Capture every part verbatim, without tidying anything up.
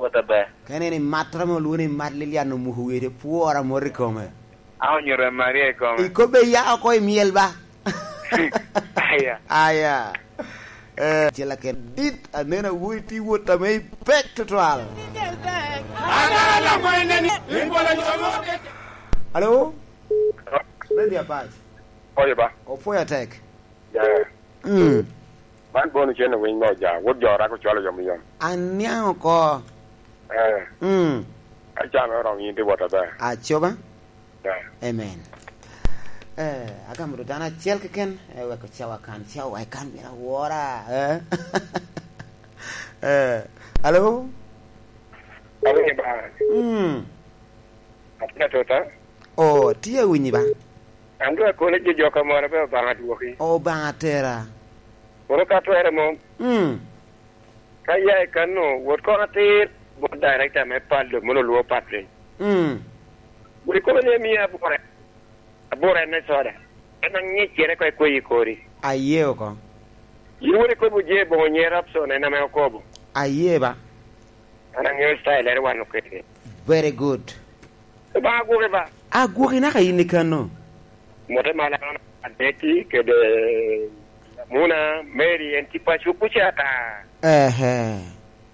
Wot aber. Ka ineno i mat ame olwoŋo ni mat Lilian omuko wiye, pwora mot i kome. A, onyuto Maria i kome. Ikobbe iya oko i myel ba? Aya. Aya. Eh, cel aken dit, aneno awobi tye wot ame i pek tutwal. Alo? Ready apac. Oyo ba. Opwoyo atek. Yeah. Mm. Man bono cen owiny mo ja, wot jo orako cwalo yom yom. Aniang oko. Eh. Mm. Acalo oromo yin tye wot aber. Acoba? Yeah. Amen. Eh, agamo dano acel keken, eh, weko cawa kan, cawa kan myero awora, eh? Eh, alo? Alo, ba. Mm. Atin atota. Oh, tye awinyi ba? An dwa koni jo joka moro pe Obaŋa dwoki. Obaŋa tera. Kono ka twere mom. Mm. Ka ya i kanno, wot kono atir, bot director me Paldo, mono Luo Patrick. Mm. Wot ikobo ni emiya abura, abura en me soda. En aŋic cene ko ikweyi kodi. Aye oko. Yin wot ikobo je boŋo nyer Rapson en ame okobo. Aye ba. An aŋeo style ere wan okete. Very good. Obaŋa gwoke ba. Agwoki naka yin i kanno. Mote mala Adeti kede Muna Mary en tye paco kuca ata. Ehe.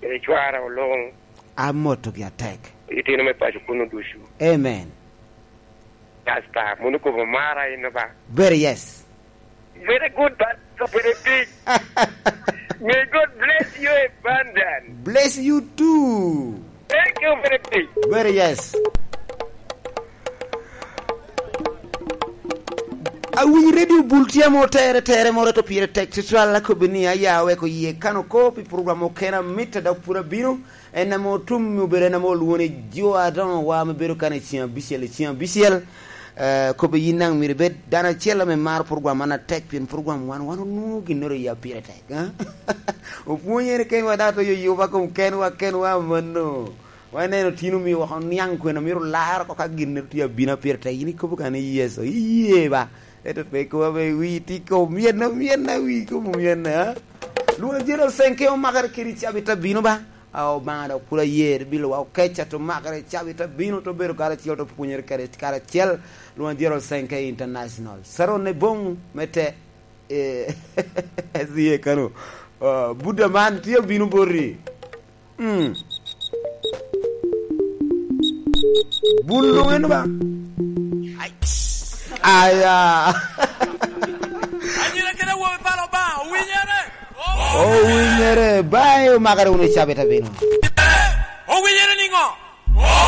Kede cwara oloŋ. Amotogi atek. Itino me paco kuno ducu. Amen. Pastor, mono kobo mara ino ba. Very yes. Very good, Pastor, very big. May God bless you abundant. Bless you too. Thank you very big. Very yes. Awinyo radio bul tye amo tere tere moro to pire tek tutwal, akobo ni aya weko yie kano ko pi program okena mitte dok pur abino. En ame otum obedo en ame olwoŋo ni jo adoŋo wa ame bedo kan i ceng abicel, i ceng abicel. Eh, kobbe yin daŋ myero ibed dano acel ame maro program man atek, pien program wan, wan onwoŋo ginnoro ya pire tek, eh? Opwonyere kenwa daŋ to yoyoba kom kenwa, kenwa mano. Waneno tin omio woko niaŋ kwena myero lar oko ka gin tye abino pire tek. Yin ikobo kan ni Yecu, iye ba? Ento pe ikobo be wi tye kom myena, myena, wi kom myena, eh? Lwongo Jerusalem ke omakere kede cabit abino ba? A Obaŋa dok pwod aye bilowa okeca, to makere cabit abino, to bedo karacel, to pwonyere kare, karacel. Lwongo Jerusalem ke International. Saron ne boŋ me te, eh, S D A Kano. Ah, Buddha man tye obino boti. Mm. Bul luŋ eno ba. Aya. Anyira kede awobe palo ba, owinyere. Owinyere, bae omakere wunu i cabit abino.